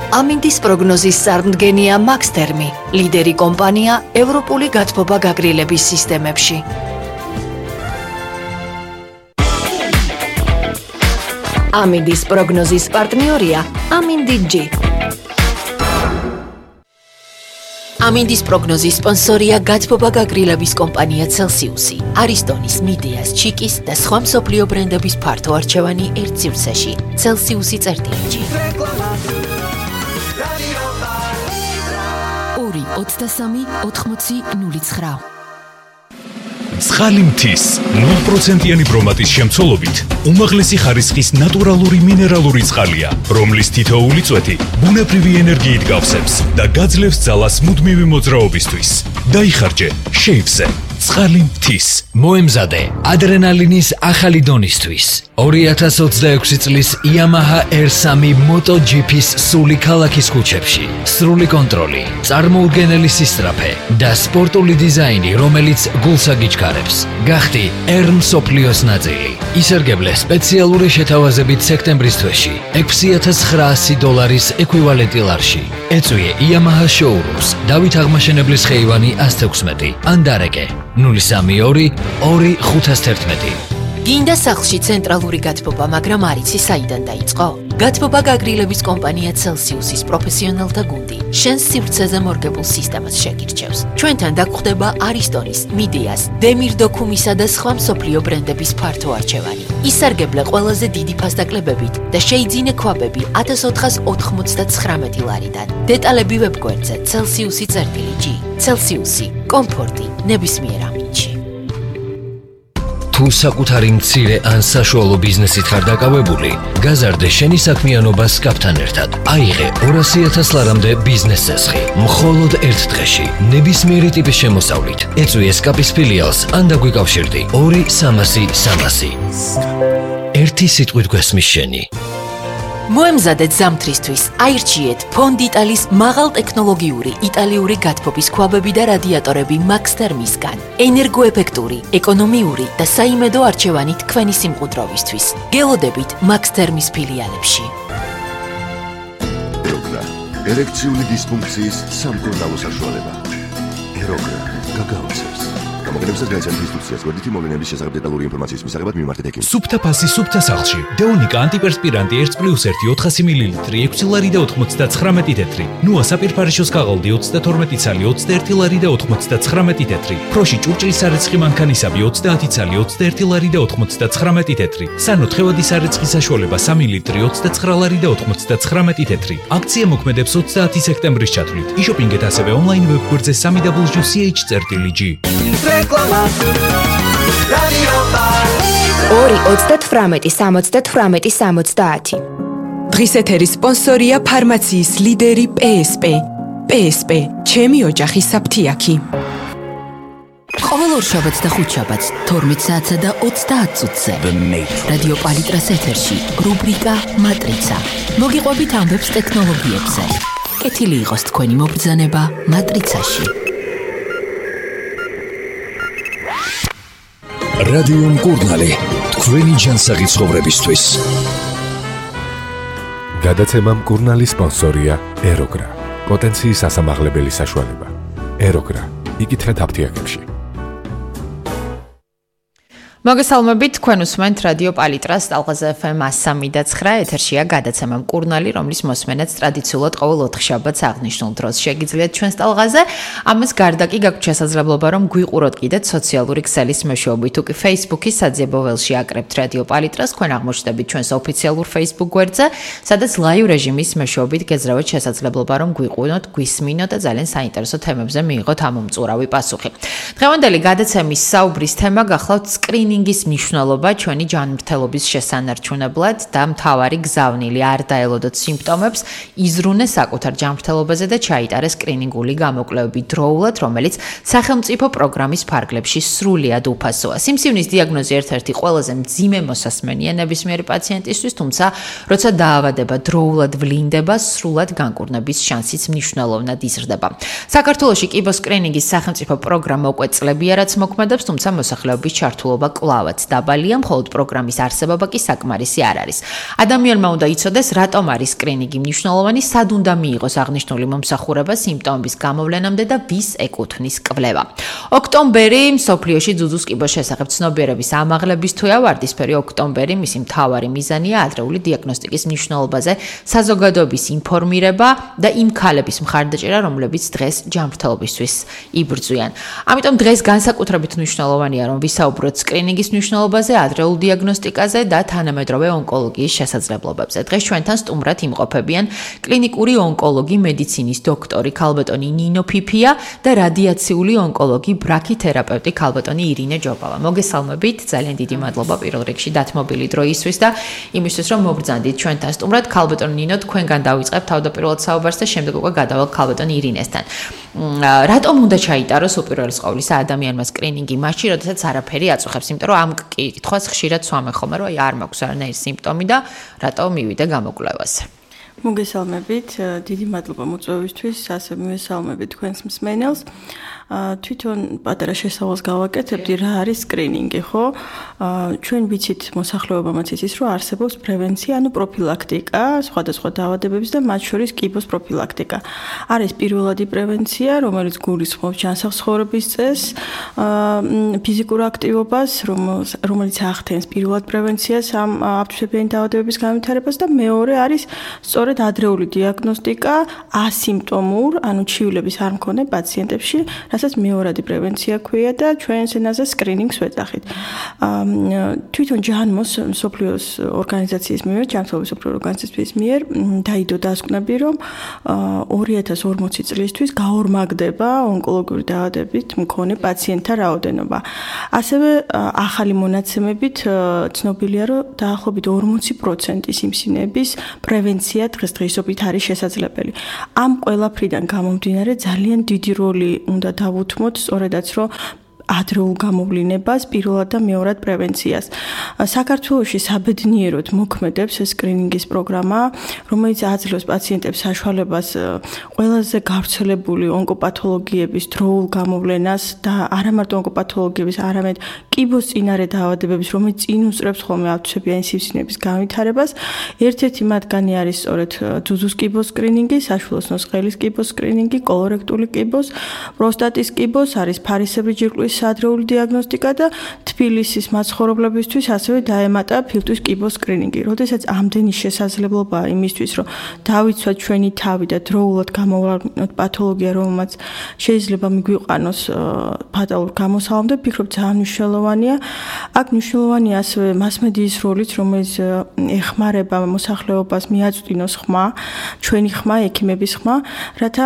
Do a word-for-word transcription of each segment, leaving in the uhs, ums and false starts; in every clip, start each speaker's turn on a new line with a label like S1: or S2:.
S1: ამინდის პროგნოზის წარმდგენია მაქსთერმი, ლიდერი კომპანია ევროპული გათბობა გაგრილების სისტემებში. ამინდის პროგნოზის პარტნიორია ამინდი-G. ამინდის პროგნოზის სპონსორია გათბობა გაგრილების კომპანია Celsius-ი, არისტონის, მიდეას, ჩიკის და სხვა მსოფლიო ბრენდების ფართო არჩევანი ერთ სივრცეში. Celsius-ი წერტილი. ორი ოცდასამი ოთხმოცი ნული ცხრა.
S2: ცხალი მთის ნულ პროცენტიანი ბრომატის შემცველობით უმაღლესი ხარისხის ნატურალური მინერალური წყალია, რომლის თითოეული წვეთი ბუნებრივი ენერგიით გავსებს და გაძლევს ძალას მუდმივი მოძრაობისთვის. დაიხარჯე შეივსე ცხალი მთის.
S3: მოემზადე ადრენალინის ახალი დონისთვის. ორი ათას ოცდაექვსი წლის Yamaha R three MotoGP-ს სული ქალაქის ქუჩებში. სრული კონტროლი, წარმოუდგენელი სისწრაფე და სპორტული დიზაინი, რომელიც გულს აგიჩქარებს. გახდი R მსოფლიოს ნაწილი. ისარგებლე სპეციალური შეთავაზებით სექტემბრის თვეში ექვსი ათას ცხრაასი დოლარის ეკვივალენტი ლარში. ეწვიე Yamaha showrooms, დავით აღმაშენებლის ხეივანი ათას თექვსმეტი, ან დარეკე ნული სამი ორი ორი ხუთას თერთმეტი.
S1: გინდა სახლში ცენტრალური გათბობა, მაგრამ არ იცი საიდან დაიწყო? გათბობა გაგრილების კომპანია Celsius-ის პროფესიონალთა გუნდი შენს სივრცეზე მორგებულ სისტემას შეგირჩევს. ჩვენთან დაგხვდება არისტონის, მიდეას, დემირდოქუმისა და სხვა მსოფლიო ბრენდების ფართო არჩევანი. ისარგებლე ყველაზე დიდი ფასდაკლებებით და შეიძინე ქვაბები ათას ოთხას ოთხმოცდათხრამეტი ლარიდან. დეტალები ვებგვერდზე Celsius-ი წერტილი G. Celsius-ი, კომფორტი ნებისმიერ ამინდში.
S3: თუ საკუთარი მცირე ან საშუალო ბიზნესით ხარ დაკავებული, გაზარდე შენი საქმიანობა სკაფთან ერთად. აიღე ორასი ათას ლარამდე ბიზნეს წესხი, მხოლოდ ერთ დღეში, ნებისმიერი ტიპის შემოსავლით. ეწვიე სკაფის ფილიალს ან დაგვიკავშირდი ორი სამასი სამასი. ერთი სიტყვით გვესმის შენი.
S1: მოემზადეთ ზამთრისთვის, აირჩიეთ ფონდიტალის მაღალტექნოლოგიური იტალიური გათბობის ქვაბები და რადიატორები მაქსთერმისგან. ენერგოეფექტური, ეკონომიური და საიმედო არჩევანი თქვენი სიმყუდროვისთვის. გელოდებით მაქსთერმის ფილიალებში.
S4: ეროგრა, ერექციული დისფუნქციის სამკურნალო საშუალება. ეროგრა, გაგაოცებს. გამოგონებსაც გაიცანით ინსტრუქციას გვერდითი მოვლენების შესახებ დეტალური ინფორმაციის მისაღებად მიმართეთ ექიმს.
S2: სუფთა ფასი სუფთა სახლში. დეონიკა ანტიპერსპირანტი ერთ პლუს ერთი ოთხასი მილილიტრი ექვსი ლარი და ოთხმოცდათხრამეტი თეთრი. ნუა საპირფარეშოს ქაღალდი ოცდათორმეტი ცალი ოცდაერთი ლარი და ოთხმოცდათხრამეტი თეთრი. ფროში ჭურჭლის სარეცხი მანქანისაბი ოცდაათი ცალი ოცდაერთი ლარი და ოთხმოცდათხრამეტი თეთრი. სანო თხევადი სარეცხი საშუალება სამი ლიტრი ოცდაცხრა ლარი და ოთხმოცდათხრამეტი თეთრი. აქცია მოქმედებს ოცდაათი სექტემბრის ჩათვლით. იშოპინგეთ ასევე ონლაინ ვებგვერდზე სამი დაბლიუ სი ეიჩ წერტილი G.
S5: ორი ოცდათვრამეტი სამოცდათვრამეტი სამოცდაათი. დღის ეთერის სპონსორია ფარმაციის ლიდერი P S P. P S P, ჩემი ოჯახის საფთიაქი.
S1: ყოველ ორშაბათს და ხუთშაბათს თორმეტ საათსა და ოცდაათ წუთზე რადიო პალიტრას ეთერში რუბრიკა მატრიცა. მოგიყვებით ამბებს ტექნოლოგიებზე. კეთილი იყოს თქვენი მობრძანება მატრიცაში.
S6: რადიო მკურნალი, თქვენი ჯანსაღი ცხოვრებისთვის.
S7: გადაცემა მკურნალი სპონსორია ეროგრა, პოტენციის ასამაღლებელი საშუალება. ეროგრა, იკითხეთ აფთიაქებში.
S8: მოგესალმებით, თქვენ უსმენთ რადიო პალიტრას ტალღაზე F M one oh three და nine ეთერშია გადაცემა მკურნალი, რომლის მოსმენაც ტრადიციულად ყოველ ოთხშაბათს აღნიშნულ დროს შეგიძლიათ ჩვენს ტალღაზე. ამას გარდა კი გაქვთ შესაძლებლობა, რომ გვიყუროთ კიდეც სოციალური ქსელის მეშვეობით. თუ კი Facebook-ის საძიებო ველში აკრებთ რადიო პალიტრას, თქვენ აღმოჩნდებით ჩვენს ოფიციალურ Facebook გვერდზე, სადაც live რეჟიმის მეშვეობით გეძრავეთ შესაძლებლობა, რომ გვიყუროთ, გვისმინოთ და ძალიან საინტერესო თემებზე მიიღოთ ამომწურავი პასუხი. დღევანდელი გადაცემის საუბრის თემა გახლავთ სკრინ სკრინინგის მნიშვნელობა ჩვენი ჯანმრთელობის შესანარჩუნებლად და მთავარი გზავნილი არ დაელოდოთ სიმპტომებს, იზრუნეს საკუთარ ჯანმრთელობაზე და ჩაიტარეს სკრინინგული გამოკვლევები დროულად, რომელიც სახელმწიფო პროგრამის ფარგლებში სრულიად უფასოა. სიმსივნის დიაგნოზი ერთ-ერთი ყველაზე მძიმე მოსასმენია ნებისმიერი პაციენტისთვის, თუმცა როცა დაავადება დროულად ვლინდება, სრულად განკურნების შანსიც მნიშვნელოვნად იზრდება. საქართველოში კიბო სკრინინგის სახელმწიფო პროგრამა უკვე წლებია, რაც მოქმედებს, თუმცა მოსახლეობის ჩართულობა კვლავაც დაბალია, მხოლოდ პროგრამის არსებობა კი საკმარისი არ არის. ადამიანმა უნდა იცოდეს, რატომ არის სკრინინგი მნიშვნელოვანი, სად უნდა მიიღოს აღნიშნული მომსახურება სიმპტომების გამოვლენამდე და ვის ეკუთვნის კვლევა. ოქტომბერი მსოფლიოში ძუძუს კიბოს შესახებ ცნობიერების ამაღლების თვეა, ვარდისფერი ოქტომბერი მისი მთავარი მიზანია ადრეული დიაგნოსტიკის მნიშვნელობაზე საზოგადოების ინფორმირება და იმ ქალების მხარდაჭერა, რომლებიც დღეს ჯანმრთელობისთვის იბრძვიან. ამიტომ დღეს განსაკუთრებით მნიშვნელოვანია, რომ ვისაუბროთ სკრინინგის მნიშვნელობაზე, ადრეულ დიაგნოსტიკაზე და თანამედროვე ონკოლოგიის შესაძლებლობებზე. დღეს ჩვენთან სტუმრად იმყოფებიან კლინიკური ონკოლოგი, მედიცინის დოქტორი ქალბატონი ნინო ფიფია და რადიაციული ონკოლოგი, ბრაქითერაპევტი ქალბატონი ირინე ჯობავა. მოგესალმებით, ძალიან დიდი მადლობა პირველ რიგში დათმობილი დროისთვის და იმისთვის, რომ მოგბრძანდით ჩვენთან სტუმრად. ქალბატონი ნინო, თქვენგან დავიწყებ თავდაპირველად საუბარს და შემდეგ უკვე გადავალ ქალბატონი ირინესთან. რატომ უნდა ჩაიტაროს უპირველეს ყოვლისა ადამიანმა სკრინინგი მაშინ, როდესაც არაფერი აწუხებს, იმიტომ რომ ამ კითხვას ხშირად სვამენ ხოლმე, რომ აი არ მაქვს არანაირი სიმპტომი და რატომ მივიდე გამოკვლევაზე.
S9: მოგესალმებით, დიდი მადლობა მოწვევისთვის, ასევე მივესალმებით თქვენს მსმენელს. თვითონ პატარა შესავალს გავაკეთებდი, რა არის სკრინინგი, ხო? ჩვენ ვიცით მოსახლეობამაც იცის, რომ არსებობს პრევენცია, ანუ პროფილაქტიკა, სხვადასხვა დაავადებების და მათ შორის კიბოს პროფილაქტიკა. არის პირველადი პრევენცია, რომელიც გულისხმობს ჯანსაღ ცხოვრების წესს, ფიზიკურ აქტივობას, რომელიც ახდენს პირველად პრევენციას ამ აფთვისებიანი დაავადებების განვითარებას და მეორე არის სწორედ ადრეული დიაგნოსტიკა ასიმპტომურ, ანუ ჩივლების არ მქონე პაციენტებში, რასაც მეორადი პრევენცია ქვია და ჩვენს ენაზე სკრინინგს ვეძახით. თვითონ ჯანმოს მსოფლიოს ორგანიზაციის მიერ, ჯანმრთელობის მსოფლიო ორგანიზაციის მიერ დაიდო დასკვნები, რომ ორი ათას ორმოცი წლისთვის გაორმაგდება ონკოლოგიური დაავადებით მქონე პაციენტთა რაოდენობა. ასევე ახალი მონაცემებით ცნობილია, რომ დაახლოებით ორმოცი პროცენტი სიმსივნეების პრევენცია დღესდღეობით არის შესაძლებელი. ამ ყველაფრიდან გამომდინარე ძალიან დიდი როლი უნდა დავუთმოთ სწორედაც რომ ადრეულ გამოვლინებას, პირველად და მეორად პრევენციას. საქართველოში საბედნიეროდ მოქმედებს სკრინინგის პროგრამა, რომელიც აძლევს პაციენტებს საშუალებას ყველაზე გავრცელებული ონკოპათოლოგიების დროულ გამოვლენას და არა მარტო ონკოპათოლოგიების, არამედ კიბოს წინარე დაავადებების, რომელიც წინ უსწრებს ხოლმე აფთვისებიანი სიმსივნეების განვითარებას. ერთ-ერთი მათგანი არის სწორედ ძუძუს კიბოს სკრინინგი, საშვილოსნოს ყელის კიბოს სკრინინგი, კოლორექტული კიბოს, პროსტატის კიბოს, არის ფარისებრი ჯირკვლის ადრეული დიაგნოსტიკა და თბილისის მაცხოვრებლებისთვის ასევე დაემატა ფილტვის კიბოს სკრინინგი. როდესაც ამდენი შესაძლებლობაა იმისთვის, რომ დავიცვათ ჩვენი თავი და დროულად გამოვაყენოთ პათოლოგია, რომელმაც შეიძლება მიგვიყვანოს ფატალურ გამოსავალამდე, ვფიქრობ ძალიან მნიშვნელოვანია. აქ მნიშვნელოვანია ასევე მასმედიის როლიც, რომელიც ეხმარება მოსახლეობას მიაწვდინოს ხმა, ჩვენი ხმა, ექიმების ხმა, რათა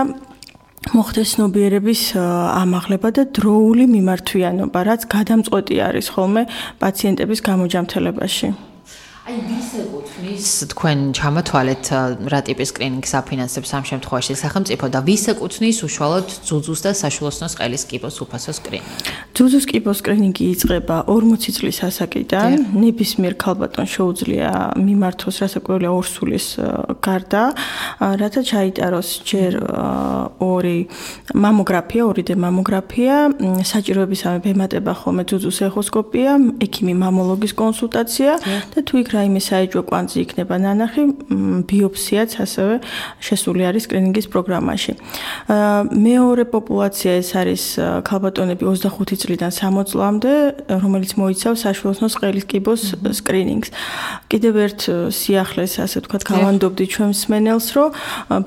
S9: მოხდეს ცნობიერების ამაღლება და დროული მიმართვიანობა, რაც გადამწყვეტი არის ხოლმე პაციენტების გამოჯანმრთელებაში.
S8: აი ვის ეკუთვნის თქვენ ჩამოთვალეთ რა ტიპის სკრინინგს აფინანსებს ამ შემთხვევაში სახელმწიფო და ვის ეკუთვნის უშუალოდ ძუძუს და საშვილოსნოს ყელის კიბოს უფასო სკრინინგი?
S9: ძუძუს კიბოს სკრინინგი იწყება ორმოცი წლის ასაკიდან, ნებისმიერ ქალბატონს შეუძლია მიმართოს რასაკვირველია ორსულის გარდა, რათა ჩაიტაროს ჯერ ორი მამოგრაფია, ორი დე მამოგრაფია, საჭიროებისამე ემატება ხოლმე ძუძუს ეხოსკოპია, ექიმი მამოლოგის კონსულტაცია და თუ იქ რაიმე საეჭვო კვანძი იქნება ნანახი, ბიოპსიაც ასევე შესული არის სკრინინგის პროგრამაში. მეორე პოპულაცია ეს არის ქალბატონები ოცდახუთი წლიდან სამოცი წლამდე, რომელიც მოიცავს საშვილოსნოს ყელის კიბოს სკრინინგს. კიდევ ერთ სიახლეს, ასე ვთქვათ, გავანდობდი ჩვენ მსმენელს, რომ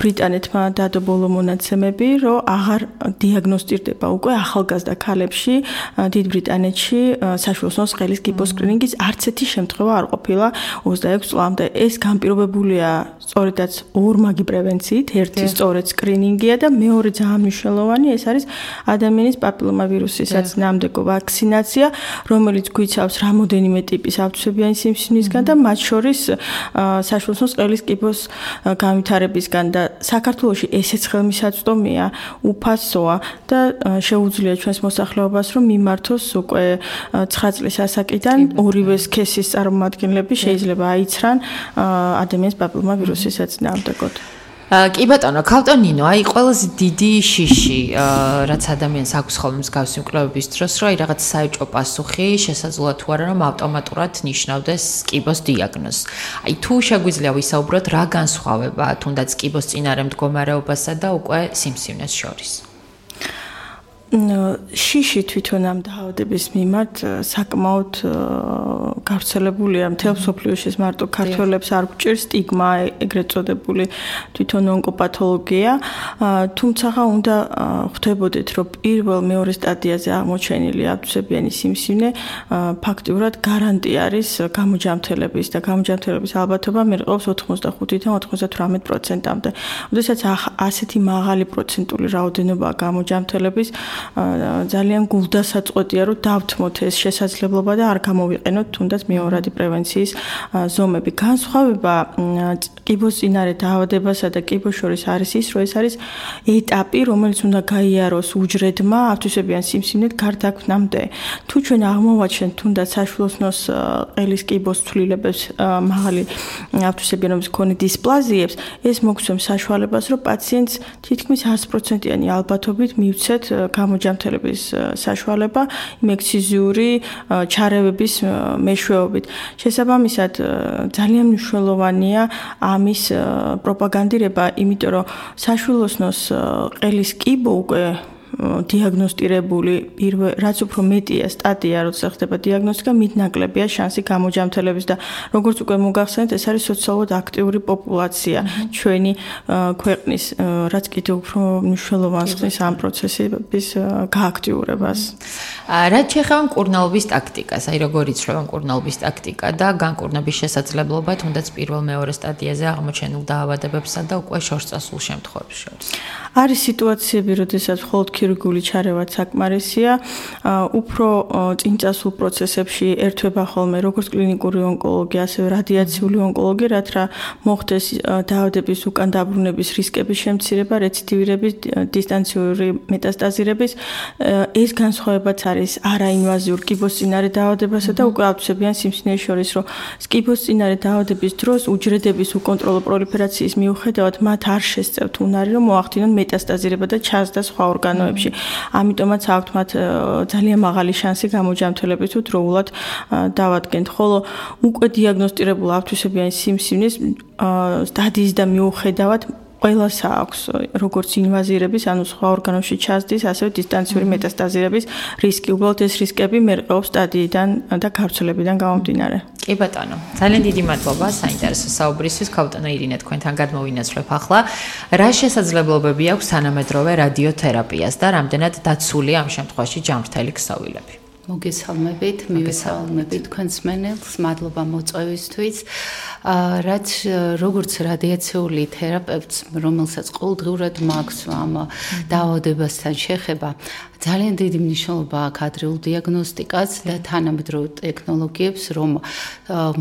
S9: ბრიტანეთმა დადო ბოლო მონაცემები, რომ აღარ დიაგნოსტირდება უკვე ახალგაზრდა ქალებში დიდ ბრიტანეთში საშვილოსნოს ყელის კიბოს სკრინინგის არც ერთი შემთხვევა არ ყოფილა ოცდაექვსი წლამდე. ეს განპირობებულია სწორედაც ორმაგი პრევენციით, ერთი სწორედ სკრინინგია და მეორე ძალიან მნიშვნელოვანი, ეს არის ადამიანის პაპილომავირუსისას ნამდვილ ვაქცინაცია, რომელიც გვიცავს რამოდენიმე ტიპის აფთვისებიანი სიმსივნისგან და მათ შორის საშვილოსნოს ყელის კიბოს განვითარებისგან და საქართველოში ესეც ხელმისაწვდომია, უფასოა და შეუძლია ჩვენს მოსახლეობას რომ მიმართოს უკვე ცხრა წლის ასაკიდან ორივე სქესის წარმომადგენლები შეიძლება აიცრან ადამიანის პაპილომავირუსის საწინააღმდეგოდ.
S8: კი ბატონო, ქავტონინო, აი ყველაზე დიდი შიში, რაც ადამიანს აქვს ხოლმე მსგავსი მკვლელობის დროს, რომ აი რაღაც საეჭვო პასუხი შესაძლოა თუ არა რომ ავტომატურად ნიშნავდეს კიბოს დიაგნოზს. აი თუ შეგვიძლია ვისაუბროთ რა განსხვავება თუნდაც კიბოს წინარე მდგომარეობასა და უკვე სიმსივნეს შორის.
S9: შიში თვითონ ამ დაავადების მიმართ საკმაოდ გავრცელებულია მთელ მსოფლიოში, მარტო ქართველებს არ გვჭირს სტიგმა, ეგრეთ წოდებული თვითონ ონკოპათოლოგია, თუმცა უნდა ხვდებოდეთ, რომ პირველ მეორე სტადიაზე აღმოჩენილი აბდუსებიანი სიმსივნე ფაქტიურად გარანტი არის გამოჯანმრთელების და გამოჯანმრთელების ალბათობა მერყეობს ოთხმოცდახუთიდან ოთხმოცდათვრამეტ პროცენტამდე. როდესაც ასეთი მაღალი პროცენტული რაოდენობა გამოჯანმრთელების ძალიან გულდასაწყვეტია, რომ დავთმოთ ეს შესაძლებლობა და არ გამოვიყენოთ თუნდაც მეორადი პრევენციის ზომები. განსხვავება კიბოს წინარე დაავადებასა და კიბოს შორის არის ის, რომ ეს არის ეტაპი, რომელიც უნდა გაიაროს უჯრედმა აბდუსებიან სიმსივნეთ გარდაქმნამდე. თუ ჩვენ აღმოვაჩენთ თუნდაც საშვილოსნოს ყელის კიბოს ცვლილებებს, მაღალი აბდუსებიანობის მქონე დისპლაზიებს, ეს მოგცემს საშუალებას, რომ პაციენტს თითქმის ათი პროცენტიანი ალბათობით მივცეთ გამოჯანმრთელების საშუალება იმ ექსციზიური ჩარევების მეშვეობით. შესაბამისად, ძალიან მნიშვნელოვანია ამის პროპაგანდირება, იმიტომ რომ საშვილოსნოს ყელის კიბო უკვე დიაგნოსტირებული პირველ რაც უფრო მეტია სტადია, როცა ხდება დიაგნოსტიკა, მით ნაკლებია შანსი გამოჯანმრთელების და როგორც უკვე მოგახსენეთ, ეს არის სოციალურად აქტიური პოპულაცია ჩვენი ქვეყნის, რაც კიდევ უფრო მნიშვნელოვანს ხდის ამ პროცესების გააქტიურებას.
S8: რაც შეეხება მკურნალობის ტაქტიკას, აი როგორ იცვლება მკურნალობის ტაქტიკა და განკურნების შესაძლებლობა თუნდაც პირველ მეორე სტადიაზე აღმოჩენილ დაავადებებსა და უკვე შორს წასულ შემთხვევებს შორის.
S9: არის სიტუაციები, როდესაც მხოლოდ ქირურგიული ჩარევაც საკმარისია, უფრო წინწასულ პროცესებში ერთვება ხოლმე როგორც კლინიკური ონკოლოგია, ასევე რადიაციული ონკოლოგია, რაც რა მოხდეს დაავადების უკან დაბრუნების რისკების შემცირება, რეციდივირების, დისტანციური მეტასტაზირების. ეს განსხვავებაც არის არაინვაზიურ კიბოსწინარე დაავადებასა და უკვე აბდუსებიან სიმსივნეს შორის, რომ კიბოსწინარე დაავადების დროს უჯრედების უკონტროლო პროლიფერაციის მიუხედავად მათ არ შესწევთ უნარი, რომ მოახდინონ მეტასტაზირება და ჩაზრდა სხვა ორგანოებში. ამიტომაც აქვთ მათ ძალიან მაღალი შანსი გამოჯანმრთელების თუ დროულად დავადგენთ. ხოლო უკვე დიაგნოსტირებულ აბდუსებიან სიმსივნის სტადიის და მიუხედავად ყველას აქვს როგორც ინვაზირების, ანუ სხვა ორგანოში ჩაზრდის, ასევე დისტანციური მეტასტაზირების რისკი. უბრალოდ ეს რისკები მერყეობს სტადიიდან და გავრცელებიდან გამომდინარე.
S8: კი ბატონო, ძალიან დიდი მადლობა საინტერესო საუბრისთვის. ქავტონო ირინე, თქვენთან გადმოვინაცვლებ ახლა. რა შესაძლებლობები აქვს თანამედროვე რადიოთერაპიას და რამდენად დაცულია ამ შემთხვევაში ჯანმრთელი ქსოვილები?
S10: მოგესალმებით, მივესალმებით თქვენს მენელს, მადლობა მოწვევისთვის. რაც როგორც რადიაციული თერაპევტს, რომელსაც ყოველდღიურად მაქვს ამ დაავადებასთან შეხება, ძალიან დიდი მნიშვნელობა აქვს ადრეულ დიაგნოსტიკას და თანამედროვე ტექნოლოგიებს, რომ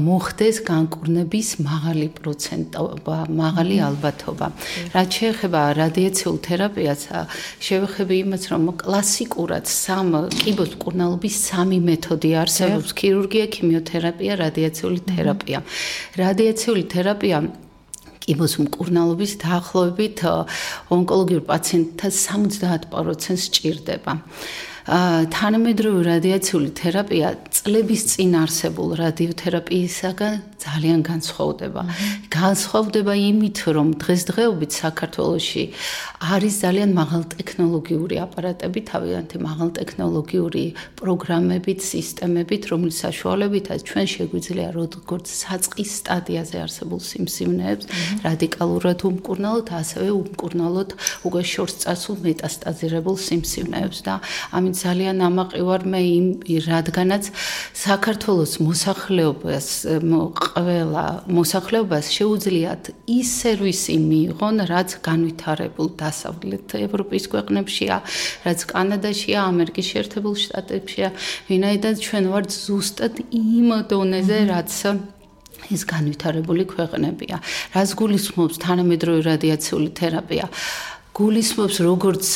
S10: მოხდეს განკურნების მაღალი პროცენტობა, მაღალი ალბათობა. რაც შეეხება რადიაციულ თერაპიას, შევეხები იმას, რომ კლასიკურად სამ კიბოს მკურნალობის სამი მეთოდი არსებობს: ქირურგია, ქიმიოთერაპია, რადიაციული თერაპია. რადიაციული თერაპია კიბოს მკურნალობის დაახლოებით ონკოლოგიურ პაციენტთა სამოცდაათ პროცენტს სჭირდება. თანამედროვე რადიაციული თერაპია წლების წინ არსებულ რადიოთერაპიისაგან ძალიან განსხვავდება. განსხვავდება იმით, რომ დღესდღეობით საქართველოში არის ძალიან მაღალტექნოლოგიური აპარატები, თავიანთი მაღალტექნოლოგიური პროგრამებით, სისტემებით, რომლის საშუალებითაც ჩვენ შეგვიძლია როგორც საწყის სტადიაზე არსებულ სიმსივნეებს რადიკალურად უმკურნალოთ, ასევე უმკურნალოთ უკვე შორს წასულ მეტასტაზირებულ სიმსივნეებს და ამით ძალიან ამაყივარ მე იმ რადგანაც საქართველოს მოსახლეობას ყველა მოსახლეობას შეუძლიათ ის სერვისი მიიღონ, რაც განვითარებულ დასავლეთ ევროპის ქვეყნებშია, რაც კანადაშია, ამერიკის შეერთებულ შტატებშია, ვინაიდან ჩვენ ვართ ზუსტად იმ დონეზე, რაც ეს განვითარებული ქვეყნებია. რას გულისხმობს თანამედროვე რადიაციული თერაპია? გულისხმობს როგორც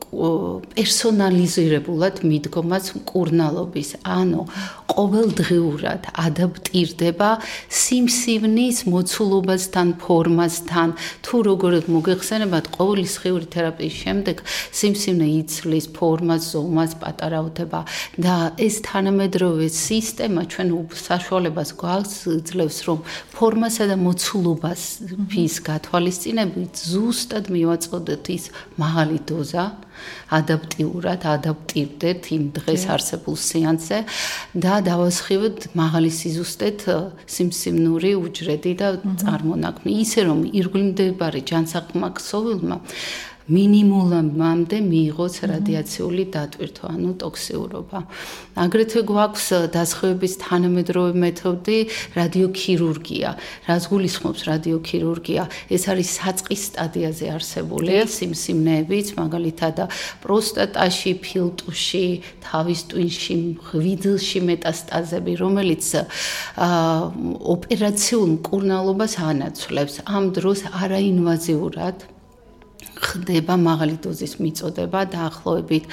S10: პერსონალიზირებულად მიდგომას მკურნალობის, ანუ ყოველდღიურად ადაპტირდება სიმსივნის მოცულობასთან, ფორმასთან, თუ როგორ მოგეხსენებათ, ყოველდღიური თერაპიის შემდეგ სიმსივნე იცვლის ფორმას, ზომას, პატარავდება და ეს თანამედროვე სისტემა ჩვენ საშუალებას გვაძლევს, რომ ფორმასა და მოცულობას გათვალისწინებით ზუსტად მივაწოდოთ ის მაღალი დოზა, ადაპტიურად ადაპტირდეთ იმ დღეს არსებულ სეანსზე და დავასხივოთ მაღალი სიზუსტეთ სიმსივნური უჯრედი და წარმონაქმნი, ისე რომ ირგვლივდებარე ჯანსაღმა ქსოვილმა მინიმუმამდე მიიღოს რადიაციული დატვირთვა, ანუ ტოქსიურობა. აგრეთვე გვაქვს დასხივების თანამედროვე მეთოდი რადიოქირურგია. რაც გულისხმობს რადიოქირურგია, ეს არის საწყის სტადიაზე არსებული სიმსივნეებიც, მაგალითად პროსტატაში, ფილტვში, თავის ტვინში, ღვიძლში მეტასტაზები, რომელიც ოპერაციულ მკურნალობას ანაცვლებს. ამ დროს არაინვაზიურად ხდება მაღალი დოზის მიწოდება დაახლოებით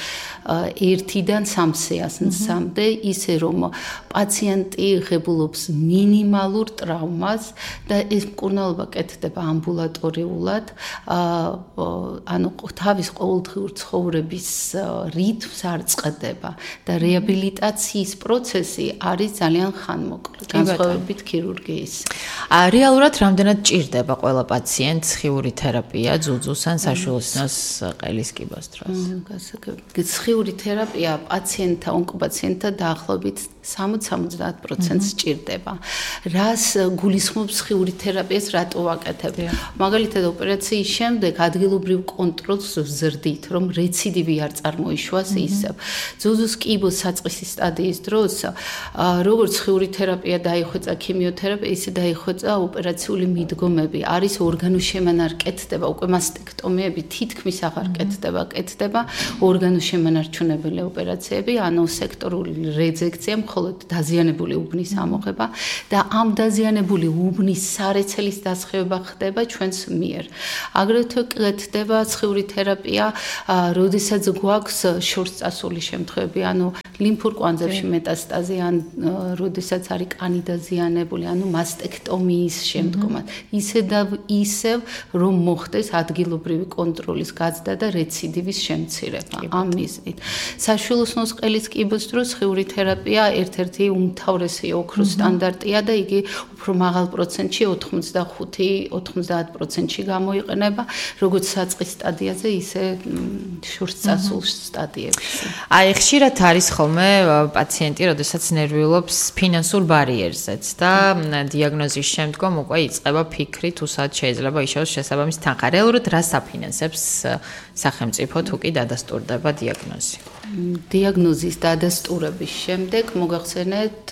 S10: ერთიდან სამ სეანსამდე, ისე რომ პაციენტი ღებულობს მინიმალურ ტრავმას და ეს მკურნალობა კეთდება ამბულატორიულად, ანუ თავის ყოველდღიურ ცხოვრების რიტმს არ წყდება და რეაბილიტაციის პროცესი არის ძალიან ხანმოკლე, განსხვავებით ქირურგიის.
S8: რეალურად რამდენად ჭირდება ყველა პაციენტს ხიური თერაპია, ძუძუს ან საშუალოს ყელის კიბოს დროს?
S10: ხიური თერაპია პაციენტთა, ონკოპაციენტთა დაახლოებით სამოცდა-სამოცდაათ პროცენტს ჭირდება. რას გულისხმობს ხიური თერაპიას, რატო ვაკეთებ? მაგალითად, ოპერაციის შემდეგ ადგილობრივ კონტროლს ვზრდით, რომ რეციდივი არ წარმოიშვას ისევ. ძუძუს კიბოს საწყისი სტადიის დროს, როგორც ხიური თერაპია დაიხვეწა ქიმიოთერაპია, ისე დაიხვეწა ოპერაციული მიდგომები. არის ორგანოშემანარ კეთდება, უკვე მასტექტომიები თითქმის აღარ კეთდება, კეთდება ორგანოშემანარჩუნებელი ოპერაციები, ანუ სექტორული რეზექცია, მხოლოდ დაზიანებული უბნის ამოღება და ამ დაზიანებული უბნის სარეცელის დასხივება ხდება ჩვენს მიერ. აგრეთვე კეთდება სხიური თერაპია, როდესაც გვაქვს შორსწასული შემთხვევები, ანუ ლიმფურ კვანძებში მეტასტაზი, ან როდესაც არის კანი დაზიანებული, ანუ მასტექტომიის შემდგომად. ისე და ისევ რომ მოხდეს ადგილობრივი კონტროლის გაზრდა და რეციდივის შემცირება. ამ მიზნით. საშუალოს ყელის კიბოს დროს ხიური თერაპია ერთ-ერთი უმთავრესი ოქროს სტანდარტია და იგი უფრო მაღალ პროცენტში ოთხმოცდახუთი-ოცდაათ პროცენტში გამოიყენება, როგორც საწყის სტადიაზე, ისე შორსწასულ სტადიებში.
S8: აი, ხშირად არის ხოლმე პაციენტი, როდესაც ნერვიულობს ფინანსურ ბარიერზეც და დიაგნოზის შემდგომ უკვე იწყება ფიქრი, თუ სად შეიძლება იშოვოს შესაბამისი თანხა. რეალურად რას აფინანსებს სახელმწიფო თუ კი დადასტურდება დიაგნოზი?
S10: დიაგნოზის დადასტურების შემდეგ მოგახსენეთ,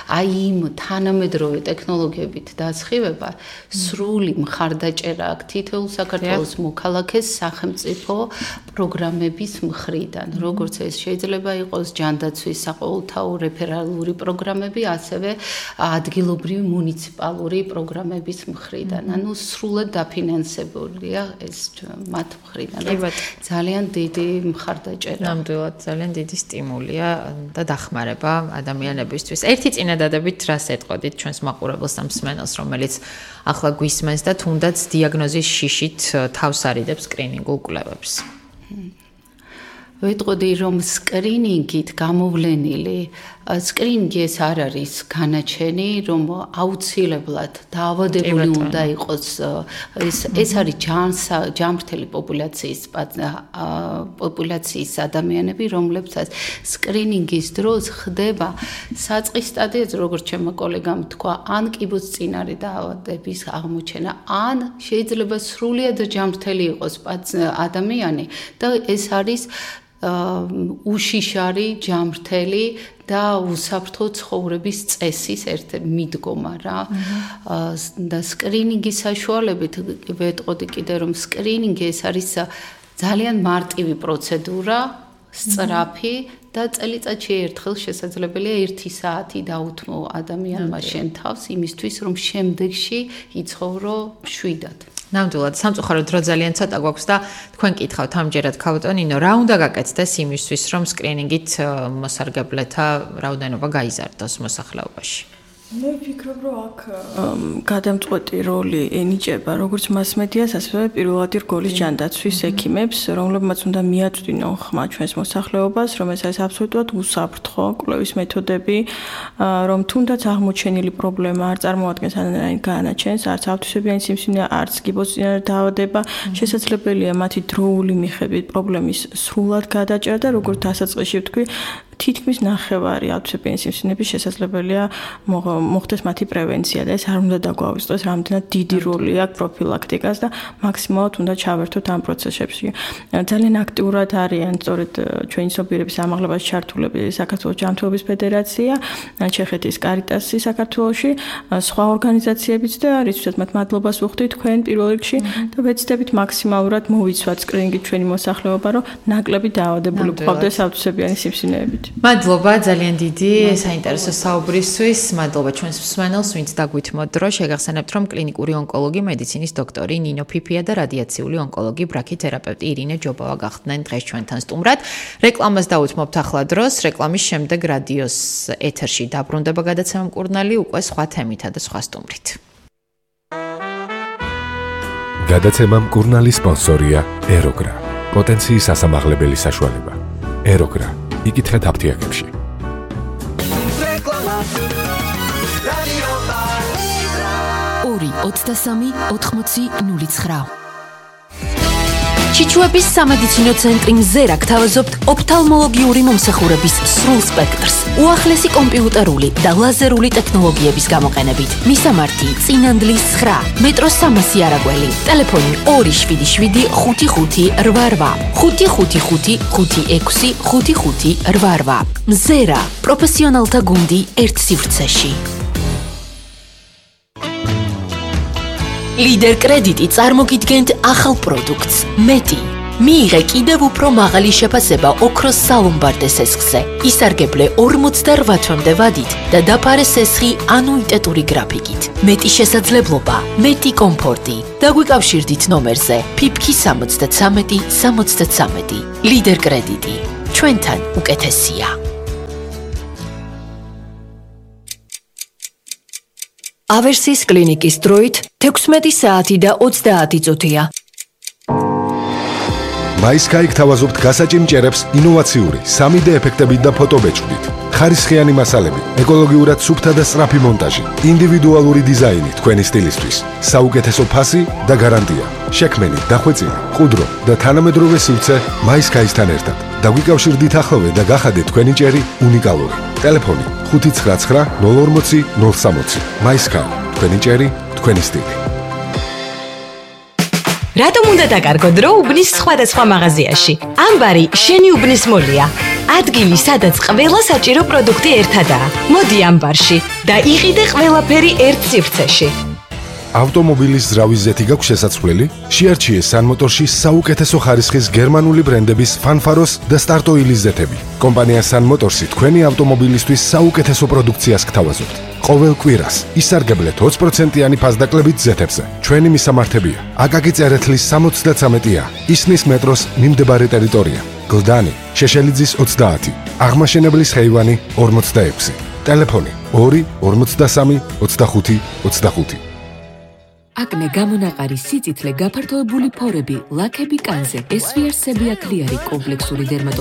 S10: აი იმ თანამედროვე ტექნოლოგიებით დასხივება სრული მხარდაჭერა აქვს თითოეულ საქართველოს მოქალაქეს სახელმწიფო პროგრამების მხრიდან. როგორც ეს შეიძლება იყოს ჯანდაცვის საყოველთაო რეფერალური პროგრამები, ასევე ადგილობრივი მუნიციპალური პროგრამების მხრიდან. ანუ სრულად დაფინანსებულია ეს მათ მხრიდან. ძალიან დიდი მხარდაჭერა.
S8: ნამდვილად ძალიან დიდი სტიმულია და დახმარება ადამიანებისთვის. ერთი წინადადებით რას ეტყოდით ჩვენს მაყურებელს და მსმენელს, რომელიც ახლა გვისმენს და თუნდაც დიაგნოზის შიშით თავს არიდებს სკრინინგულ კვლევებს?
S10: ვეტყოდი, რომ სკრინინგით გამოვლენილი სკრინინგი ეს არ არის განაჩენი, რომ აუცილებლად დაავადებული უნდა იყოს, ეს ეს არის ჯანმრთელი პოპულაციის პოპულაციის ადამიანები, რომლებსაც სკრინინგის დროს ხდება საწყის სტადიაზე, როგორც ჩემმა კოლეგამ თქვა, ან კიბოს წინარე დაავადების აღმოჩენა, ან შეიძლება სრულიად ჯანმრთელი იყოს ადამიანი და ეს არის უშიშარი, ჯანმრთელი და უსაფრთხო ცხოვრების წესის ერთ მიდგომა რა. და სკრინინგის საშუალებით ვეტყოდი კიდე, რომ სკრინინგი ეს არის ძალიან მარტივი პროცედურა, სწრაფი და წელიწადში ერთხელ შესაძლებელია ერთი საათი დაუთმო ადამიანმა შენ თავს იმისთვის, რომ შემდეგში იცხოვრო მშვიდად.
S8: ნამდვილად, სამწუხაროდ დრო ძალიან ცოტა გვაქვს და თქვენ კითხავთ ამჯერად ქავტონინო, რა უნდა გაკეთდეს იმისთვის, რომ სკრინინგით მოსარგებლეთა რაოდენობა გაიზარდოს მოსახლეობაში?
S9: მე ვფიქრობ, რომ აქ გადამწყვეტი როლი ენიჭება როგორც მასმედიას, ასევე პირველადი რგოლის ჯანდაცვის ექიმებს, რომლებმაც უნდა მიაწვდინონ ხმა ჩვენს მოსახლეობას, რომ ეს არის აბსოლუტურად უსაფრთხო კვლევის მეთოდები, რომ თუნდაც აღმოჩენილი პრობლემა არ წარმოადგენს ანანაირ განაჩენს, არც ავთვისებიანი სიმსივნე, არც კიბოსწინარე დაავადება, შესაძლებელია მათი დროული მიხედვით პრობლემის სრულად გადაჭრა და როგორც დასაწყისში ვთქვი, თითქმის ნახევარი ავთვისებიანი სიმსივნეების შესაძლებელია მოხდეს მათი პრევენცია და ეს არ უნდა დაგვავიწყდეს რამდენად დიდი როლი აქვს პროფილაქტიკას და მაქსიმალურად უნდა ჩავერთოთ ამ პროცესებში. ძალიან აქტიურად არიან სწორედ ჩვენი სოფიურების ამაღლებას ჩართულები საქართველოს ჯანმრთელობის ფედერაცია, ჩეხეთის კარიტასი საქართველოში, სხვა ორგანიზაციებიც და რითაც მათ მადლობას ვუხდით თქვენ პირველ რიგში და ვეცდებით მაქსიმალურად მოვიცვათ სკრინინგით ჩვენი მოსახლეობა, რომ ნაკლები დაავადებული გყავდეს ავთვისებიანი სიმსივნეებით.
S8: მადლობა ძალიან დიდი საინტერესო საუბრისთვის. მადლობა ჩვენს მსმენელს, ვინც დაგვითმოთ დრო. შეგახსენებთ, რომ კლინიკური ონკოლოგი, მედიცინის დოქტორი ნინო ფიფია და რადიაციული ონკოლოგი, ბრაქითერაპევტი ირინე ჯობავა გახდნენ დღეს ჩვენთან სტუმრად. რეკლამას დაუთმობთ ახლა დროს. რეკლამის შემდეგ რადიოს ეთერში დაბრუნდება გადაცემა მკურნალი უკვე სხვა თემითა და სხვა სტუმრით.
S7: გადაცემა მკურნალის სპონსორია ეროგრა. პოტენციის ასამაღლებელი საშუალება. ეროგრა. იკითხეთ აფთიაქებში.
S1: ორი ოცდასამი ოთხმოცი ნული ცხრა. ჩიჩუების სამედიცინო წენტრი მზერა გთავაზობთ ოფთალმოლოგიური მომსახურების სრულ სპექტრს, უახლესი კომპიუტერული და ლაზერული ტექნოლოგიების გამოყენებით. მისამართი წინანდლის ცხრა, მეტროს სამასი არაგველი, ტელეფონი ორი შვიდი შვიდი ხუთი ხუთი რვა რვა, ხუთი ხუთი ხუთი ხუთი ექვსი ხუთი ხუთი რვა რვა. მზერა, პროფესიონალთა გუნდი ერთ სივრცეში. ლიდერ კრედიტი წარმოგიდგენთ ახალ პროდუქტს მეტი. მიიღე კიდევ უფრო მაღალი შეფასება ოქროს სალომბარდე სესხზე. ისარგებლე ორმოცდარვა თვემდე ვადით და დაფარე სესხი ანუიტეტური გრაფიკით. მეტი შესაძლებლობა, მეტი კომფორტი. დაგვიკავშირდით ნომერზე ფიფკი სამოცდათრამეტი სამოცდათრამეტი. ლიდერ კრედიტი. ჩვენთან უკეთესია. ავერსის კლინიკის დროით თექვსმეტი საათი და ოცდაათი წუთია.
S7: მაისკაი გთავაზობთ გასაჭიმ ჭერებს ინოვაციური სამი დე ეფექტებით და ფოტობეჭდით. ხარისხიანი მასალები, ეკოლოგიურად სუფთა და სწრაფი მონტაჟი, ინდივიდუალური დიზაინი თქვენი სტილისთვის, საუკეთესო ფასი და გარანტია. შექმენი, დახვეწილი, ყუდრო და თანამედროვე სივრცე მაისკაისთან ერთად. დაგვიკავშირდით ახლოვე და გახადეთ თქვენი ჭერი უნიკალური. ტელეფონი ხუთი ცხრა ცხრა ნული ორმოცი ნული სამოცი. მაისკაი, თქვენი ჭერი, თქვენი სტილი.
S11: რატომ უნდა დაკარგო დრო უბნის სხვადასხვა მაღაზიაში? ამბარი შენი უბნის მოლია. ადგილი, სადაც ყველა საჭირო პროდუქტი ერთადაა. მოდი ამბარში და იყიდე ყველაფერი ერთ სივრცეში.
S7: ავტომობილის ზრავის ზეთი გაქვს შესაძლებელი? შეარჩიე სანმოტორში საუკეთესო ხარისხის გერმანული ბრენდების ფანფაროს და სტარტოილის ზეთები. კომპანია სანმოტორსი თქვენი ავტომობილისთვის საუკეთესო პროდუქციას გთავაზობთ. ყოველ კვირას ისარგებლეთ ოცი პროცენტიანი ფასდაკლებით ზეთებზე. ჩვენი მისამართებია: აკაკი წერეთლის სამოცდათრამეტი ა, ისნის მეტროს მიმდებარე ტერიტორია, გლდანი, შეშელიძის ოცდაათი, აღმაშენებლის ხეივანი ორმოცდაექვსი. ტელეფონი ორი ორმოცდასამი ოცდახუთი ოცდახუთი.
S12: აკნე, გამონაყარი, სიწითლე, გაფართოებული ფორები, ლაქები კანზე, ესვიარსები აკლიარი, კომპლექსური დერმატო